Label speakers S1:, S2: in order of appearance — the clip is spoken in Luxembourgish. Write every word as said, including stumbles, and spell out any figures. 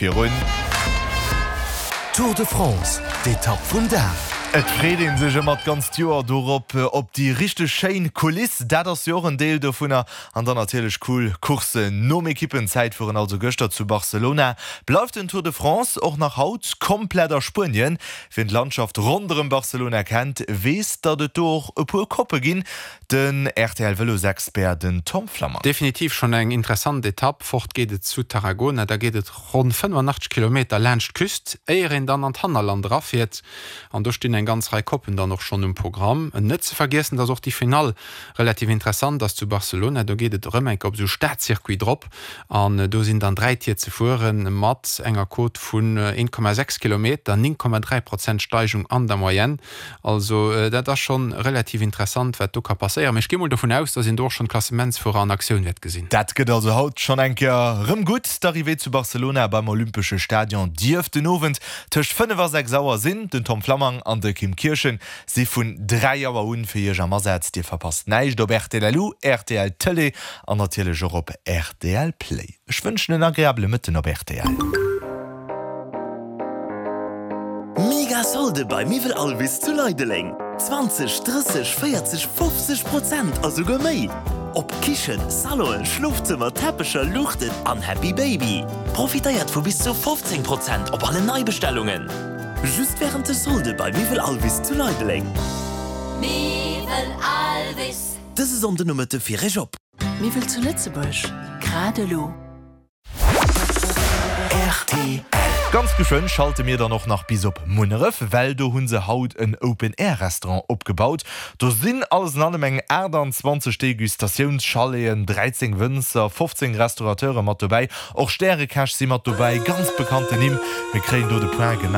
S1: Virun.
S2: Tour de France, d'Etapp vum Dag.
S1: Et freet een sech ëmmer d'ganzt Joer dorop, op déi richteg schéin Kuliss, dat ass jo och en Deel dovunner, an dann natierlech cool Courssen. Nom Ekippenzäitfueren, also gëschter zu Barcelona, bleift den Tour de France och nach haut komplett a Spuenien. Wien d'Landschaft ronderëm Barcelona kennt, weess, datt et do och e puer Koppe ginn. Den R T L-Vëlosexpert, den Tom Flammang.
S3: Definitiv schonn eng interessant Etapp. Fort geet et zu Tarragona, da geet et ronn fënnefanachteg Kilometer laanscht d'Küst, éier een dann an d'Hannerland erafiert. An do stinn eng ganz Rei Koppen dann och schonn um Programm. Net ze vergiessen, dass och déi Finall relativ interessant ass zu Barcelona. Do geet et erëm eng Kéier op esou Stadcircuit drop an do sinn dann dräi Tier ze fueren mat enger Côte vun een Komma sechs Kilometer, néng Komma dräi Prozent Steigung an der Moyenne. Also dat ass schonn relativ interessant, wat do ka passéieren. Mee ech gi mol dovun aus, dass een do och schonn d'Klassementsfuerer an Aktioun wäert gesinn.
S1: Dat gëtt also haut schonn eng Kéier rëm gutt. D'Arrivée zu Barcelona beim Olympesche Stadion dierft den Owend tëscht fënnef a sechs Auer sinn. Den Tom Flammang an de Kim Kirchen si vun dräi Auer un fir iech am Asaz. Dir verpasst näischt op R T L Lu, R T L Tëlee an natierlech och op R T L Play. Ech wënschen en agreabele Mëtten op R T L.
S2: Mega Solde bei Miwwel Alvis zu Leideleng. zwanzeg, drësseg, véierzeg, fofzeg Prozent a souguer méi. Op Kichen, Salonen, Schlofzëmmer, Teppecher, Luuchten an Happy Baby. Profitéiert vu bis zu fofzéng Prozent op alle Neibestellungen. Just wärend de Solde bei Miwwel Alvis zu Leideleng.
S4: Miwwel Alvis.
S2: Dëse Sonndenomëtte fir iech op.
S5: Miwwel zu Lëtzebuerg, grad elo.
S2: R T L.
S1: Ganz geschwënn schalte mir dann och nach bis op Munneref, well do hu se haut en Open-Air-Restaurant opgebaut. Do sinn alles an allem eng aachtanzwanzeg Degustatiouns-Chaleten, dräizéng Wënzer, fofzéng Restaurateure mat dobäi. Och Stärekäch si mat dobäi, ganz bekannten Nimm. Mir kréien do de Point gemaach.